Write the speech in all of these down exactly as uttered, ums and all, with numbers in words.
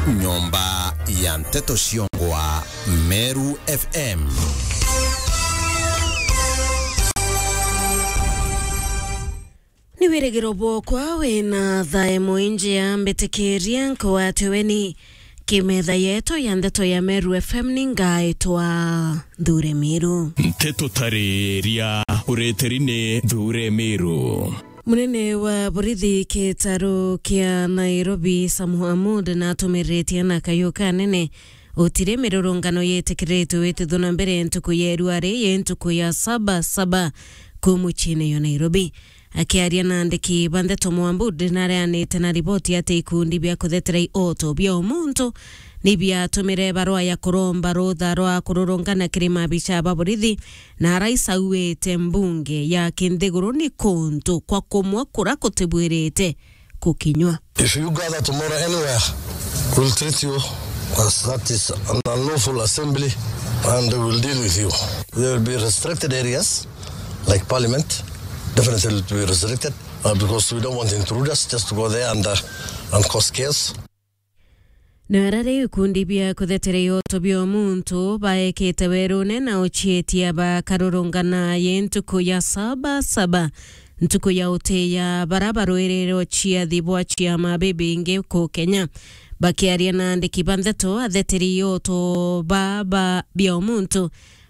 Nyomba ya nteto ciongwa Meru F M. Ni wirigiro bwokwa wina thae mwinjia mbitikiria nkwatwe weni kimetha yetu ya ndeto ya Meru F M ni ngaitwa Nthure Miru. Nteto tariria ureteri ni Nthure Miru. Munene wa borithi kitaro kia Nairobi, Sam Hamud, natumiritie na kayu kanene utiri mirurungano yitikiritwe witithwa na mbere ntuku ya irua ri yi ntuku ya saba saba ku muciine yo Nairobi. Akiaria na andiki ba ndeto, Mwambud nareanite na riboti ati ikundi bia kuthetera ioto bia umuntu ni biatumire barua ya kuromba rutha rwa kururungana kiri mabicha ba borithi, na araisauite mbunge ya kinthiguru ni kuntu kwa kumwe kura kutibwirite kukinywa. If you gather tomorrow anywhere, we'll treat you as that is an unlawful assembly and we'll deal with you. There will be restricted areas like parliament, definitely will be restricted, uh, because we don't want intruders just to go there and, uh, and cause chaos. Na ara riu ikundi bia kuthetera ioto bia umuntu baekite werune na ucietia bakarurungana yi ntuku ya saba saba, ntuku ya utiya bara barwirire uciathi bwa ciama bibingi ku Kenya. Bakiaria na andiki ba ndeto, atheteri ioto ba, ba bia umuntu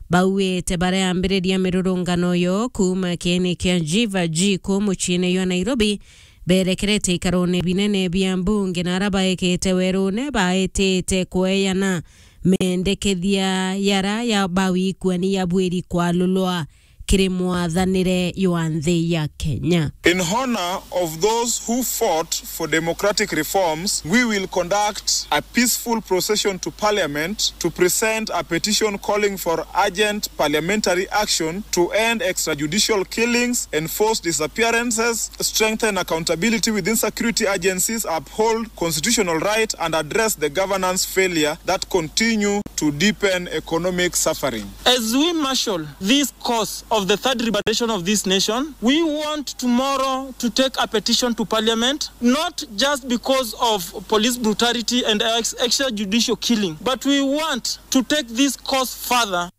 bauite bareambiriria mirurungano yo kuuma kieni kia Jiva G ku muciine jwa Nairobi, berekerete ikarone binene bia mbunge na ara baekete werune baetete kweeyana mendekethia yara ya bawikuani ya bwiri kwalulwa kiri mwathanire jwa nthi ya Kenya. In honor of those who fought for democratic reforms, we will conduct a peaceful procession to Parliament to present a petition calling for urgent parliamentary action to end extrajudicial killings, enforce disappearances, strengthen accountability within security agencies, uphold constitutional right, and address the governance failure that continue to deepen economic suffering. As we marshal this cause of the third liberation of this nation, we want tomorrow to take a petition to Parliament, not just because of police brutality and ex-, extrajudicial killing, but we want to take this cause further.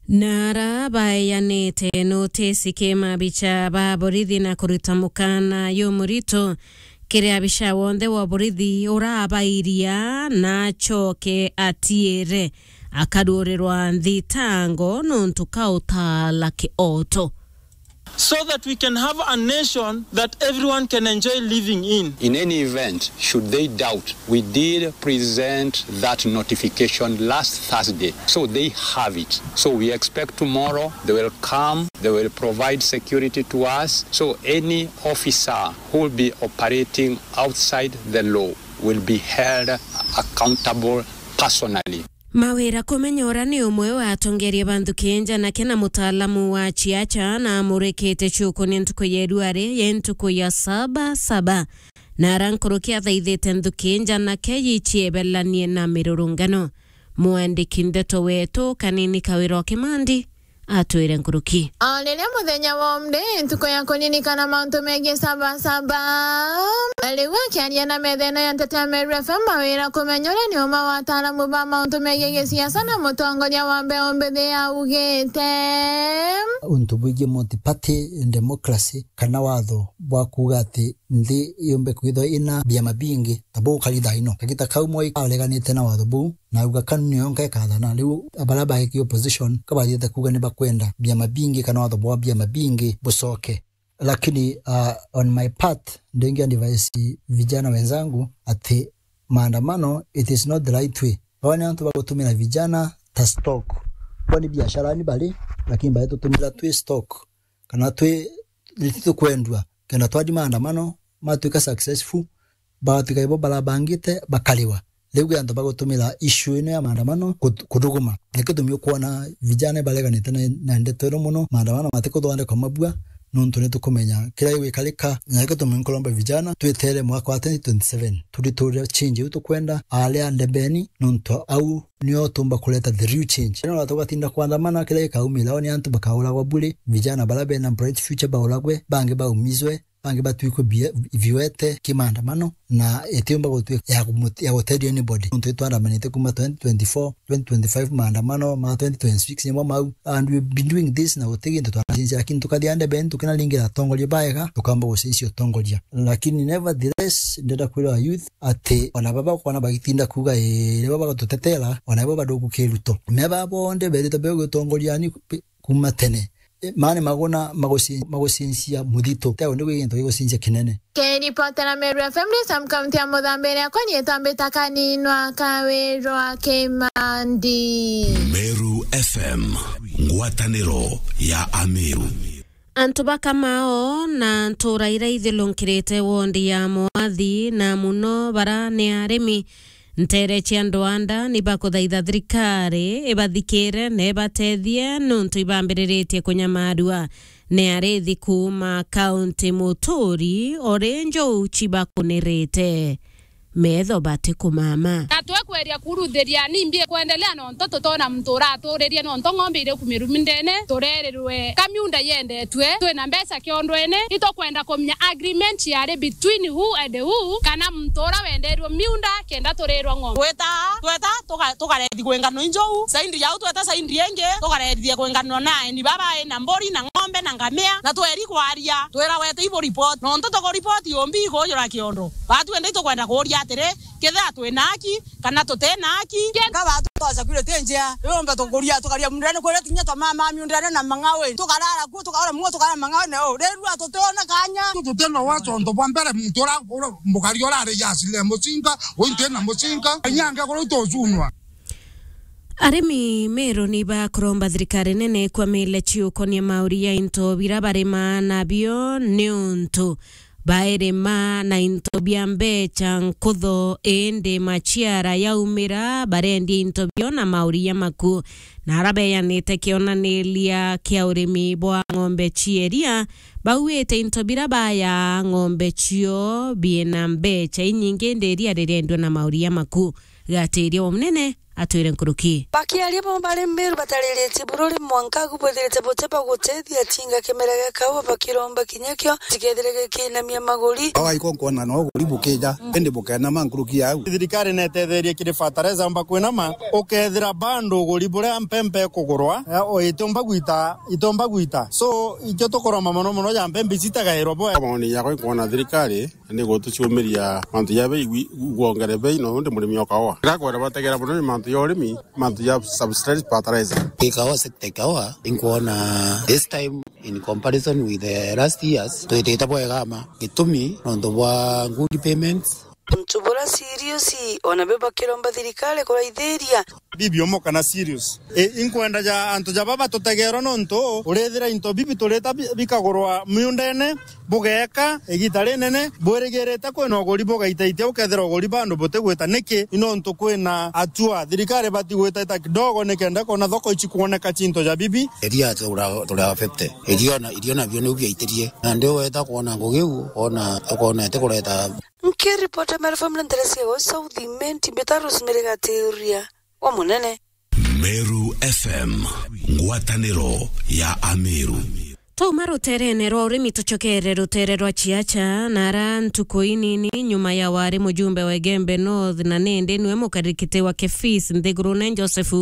Na ara baeanite notisi ki mabicha ba borithi na kuruta mukana jumurito kiri abicha wonthe wa borithi urabairia na acoke atiire akaruurirwa nthitango nontu ka utaala kioto. So that we can have a nation that everyone can enjoy living in. In any event, should they doubt, we did present that notification last Thursday, so they have it. So we expect tomorrow they will come, they will provide security to us. So any officer who will be operating outside the law will be held accountable personally. Mawira Kumenyora ni umwe wa atongeria ba nthuki njanake na mutaalamu wa ciaca, na amurikite ciukunia ntuku ya iruari yi ntuku ya saba saba, na ara nkuruki athaithite nthuki njanake yiciebelanie na mirurungano. Mwandiki ndeto wetu Kanini Kawira o Kimandi atwire nkuruki. O riria muthenya wa umde, ntuku ya kuririkana mauntu megii saba saba. Riu akiaria na metha ino ya nteto ya Meru F M, Mawira Kumenyora ni umwe wa ataalamu ba mauntu megii gisiasa na mutongoria wa mbeu mbithi augite, untu bwigii multi-party democracy kana watho bwa kuuga ati nthi yumbe kwithwa ina biama bingi, ta buu kari thaa ino. Kagita kau Moi areganite na watho buu, na auga kanu nio nka ikathana. Riu baria baiki opposition ka bathiite kuuga ni bakwenda biama bingi kana watho bwa biama bingi bucoke. Lakini, uh, on my part, ndingi advise vijana wenzangu ati maandamano, it is not the right way. Baba ni antu bagutumira vijana ta stock. Baba ni biashara ni bari, lakini bari tutumira twi stock. Kana twi, ni tukwendua. Kenda twathi maandamano, matwika successful, bagatwika ibo barabangite, bakariwa. Riu kwi antu bagutumira issue ino ya maandamano kut-, kuthuguma. Na gitumi ukwona vijana bareganite na, na ndeto ino mono, maandamano matikuthondekwa mabua, nontu ni tukumenya kiria gigwikarika. Na gitumi nkuromba vijana, twetere mwaka wa twenty twenty-seven. Turiture change iu tukwenda, aria ndebeni, nontu au nio tumba kureta the real change. Ino tugatinda kwandamana, kiria gikaumira, ni antu bakauragwa bure, vijana baria bena bright future bauragwe, bangi baumizwe, bangi batwikwe bie-, viwete ki maandamano, na itiumba gutwika ya kumut-, ya guteithia anybody. Nontu itwandamanite kuma twenty twenty-four, twenty twenty-five maandamano, ma twenty twenty-six nimo mau. And we've been doing this na guti gintu twanacenjia, lakini tukathia ndebe, tukinaringira atongoria baega, tukamba gucenjia utongoria. Lakini nevertheless, ndenda kwira youth ati ona baba kwana bagitinda kuuga, "Ii, ni baba batutetera," ona ibo bado gukiruto. Me baba bonde berite be gutongoria ni kuma tene. E, maani maguna maguci-, magucincia muthito. Teo ni gwi gintu gigucincia kinene. Kiripotera Meru F M, Sam kaunti ya Muthambe, iria kwa nyie tambita kaninwa Kawirwa Kimandi. Meru F M, ngwataniro ya Ameru. Antu ba Kamao na ntura iria ithirunkirite wondi ya Mwathi, na muno bara ni arimi, nteere cia Ndwanda ni bakuthaitha thirikari ibathikire na ibatethie, nontu ibambiriritie kunyamarua ni arithi kuuma kaunti muturi, o ri njou cibakunirite metho batikumama. Na twekweria kuruthiria, ni mbi ikwendelea nontu tutona muntu uratuuririe, nontu ng'ombe iri kumirumi ndene, turerirwe ka miunda yendetwe, twina mbeca kiondwene, itukwenda kumenya agreement yari between who and who, kana muntu ura wendeirwe miunda kenda turirwa ng'ombe. Tweta, tweta, tuka-, tukarethi kwi ngano injou, saindi yau tweta saindi ingi, tukarethithia kwi ngano na aeni baba ina mburi na ng'ombe na ngamia, na tweri kwaria, twira wete ibu report, nontu tuku report yombi ikujura kiondo. Batwende itukwenda kuuria atiri, kethira twina haki, kana tutina haki. Ka batu twa security njea, yombe tukuria, tukaria mundene kuria tunya twa mama miundene na mangawe. Tukarara kuo, tukarara muo, tukarara mangawe, na o, rirua tutiona kanya. Tutina wacho onto bwa mbere, muntu ura, ura, mukari urari ya sile mucinga, uintwe na mucinga, inyange kuru tucunwa. Arimi Meru ni bakuromba thirikari nene ikwamile ciukonia mauri ya into bira barima nabio, niuntu bairima na into bia mbecha nkutho, indi maciara yaumira, barendia into bio na mauri ya maku. Na ara beyanite kionaniria kia urimi bwa ng'ombe cia iria, bauite into bira baya ng'ombe cio biina mbecha inyingi, indi iria ririendua na mauri ya maku. Gatiria wa munene atwire nkuruki. Bakiaria bo bari Meru batariritie bururi mwanka agu bwithirite buti bwa gutethia tinga kimera gia kaua, bakiromba kinya kio tikethire gikinamia maguri. Kaua iko nkwona no uguri bukija, indi bukenama nkuruki yau. Thirikari netetherie kiri fertilizer amba kwinama, ukethira bando uguri buria mpempe ikugurwa, eh, o itomba gwita, itomba gwita. So, ikio tukuromba mono mono ja mpempe ici itagairwa bwe. Maoni yakwa nkwona thirikari ni gutucumiria mantu ja bei gwi-, gwongere bei, no undi murimi o kaua. Kira kwenda bategera mono ni mantu ja urimi, mantu ja subsidized fertilizer. Ikawa sector ikawa, inkwona this time in comparison with the last years, twitite bwega ma. Gitumi, nontu bwa good payments. Untu bura serious, ona be bakiromba thirikari kuraithiria. Bibi omo kana serious. E, inkwenda ja antu ja baba tutegerwa nontu urithira into bibi turita bi-, bikagurwa miundene, bugeeka igita rinene, bwirigirite kwina uguri bugaitaitia, ukethira uguri bandu butigwita. Niki? Ni nontu kwina atua thirikari batigwitaita kidogo nikenda kona thoko ici kwoneka cinto ja bibi. Iria tura, tura fifty. Irio na, irio nabio niu biaitirie. Na ndi weta kwona ngugi u, ona tukona itikureta. Nkiripota Meru F M na ntere cia Gwe South Imenti, mbita Rosemary Gatiuria wa Munene. Meru F M, ngwataniro ya Ameru. Twauma ruterene rwa urimi tucokere rutere rwa ciaca, na ara ntuku inini nyuma ya wari mujumbe wa Igembe North na nindi niwe mukarikite wa Kefis nthigurune Joseph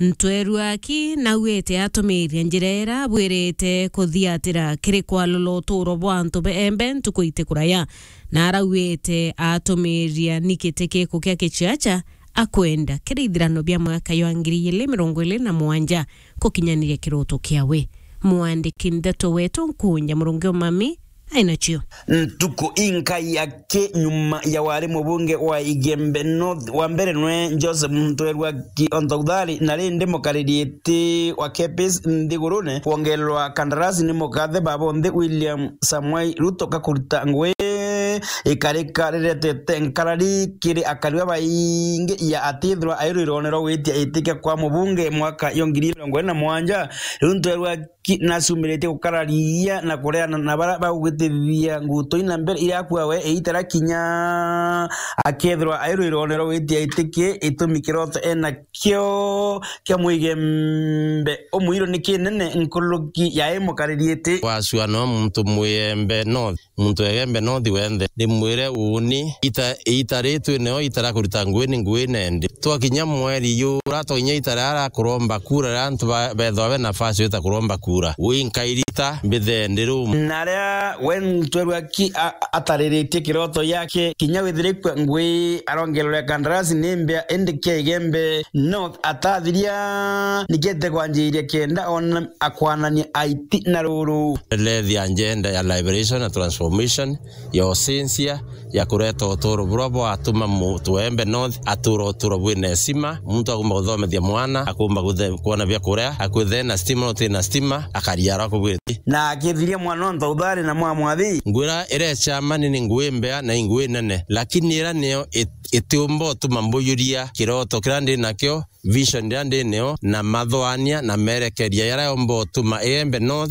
Ntweru aki nauite atumiria njira ira abwirite kuthiatira kiri kwalula uturo bwa antu beembe ntuku itikuraya, na arauite atumiria ni giti kiku kia kiciaca akwenda kiri ithirano bia mwaka jwa ngiri igiri mirongo iri na mugwanja gukinyaniria kiroto kiawe. Mwandiki ndeto wetu Nkunja Murungi Umami ainacio. Ntuku inkai aki nyuma ya wari mubunge wa Igembe North wa mbere nwe Joseph Ntweru aki Ontouthari, na rindi mukariri iti wa Kepis nthigurune kwongererwa kandarasi ni mukathe baba onthe William Samoei Ruto kakurita ngugi ikarika riretete nkarari kiri akari babaingi ya atithirwa airwirone rwa gwitia itikia kwa mubunge mwaka yo ngiri mirongo iri na mugwanja. Riu Ntweru aki Ki-, nacumiritie gukararia na kureana na baria bagugitithia nguto ina mbere iria akua we iitara kinya akethirwa ai rwirone rwa gwitia itiki itumi kiroto ena kio kia mwigembe umwiro ni kinene nkuruki ya imukariritie. Wacua no muntu mwiyembe no Muntu Egembe North wenthe, ndimwire uuni, ita, ita ritwi neo itara kurita ngui ni ngui nendi. Twakinya mweri jura, twakinya itara ara kuromba kura, ra antu ba, bethwa be nafasi yo ita kuromba kura. Wi nkairita mbithe ndi rum. Na aria we ntwerwa ki a, atariritie kiroto yake, kinya withirikwe ngui arongererwa kandarasi ni mbia, indi kia Egembe North atathiria nikete kwanjiria kenda ona akwanania aiti na ruru. Lethia agenda ya liberation na transformation ya ucenjia ya kureta uturo buria bwatuma muntu Egembe North atura uturo bwina heshima. Muntu akumba kuthomethia mwana, akumba kuthe-, kuona bia kuria, akwithira ena stima, no utina stima, akaria arakubwiti. Na akithiria mwana onto uthari na mwa mwathi. Ngwira ira chamani ni ngui mbea na ingui nene, lakini ira niyo it-, itiumba utuma mbujuria kiroto kiria ndi nakio, vision iria ndi nio, na mathwania na merekeria jaria yomba utuma Egembe North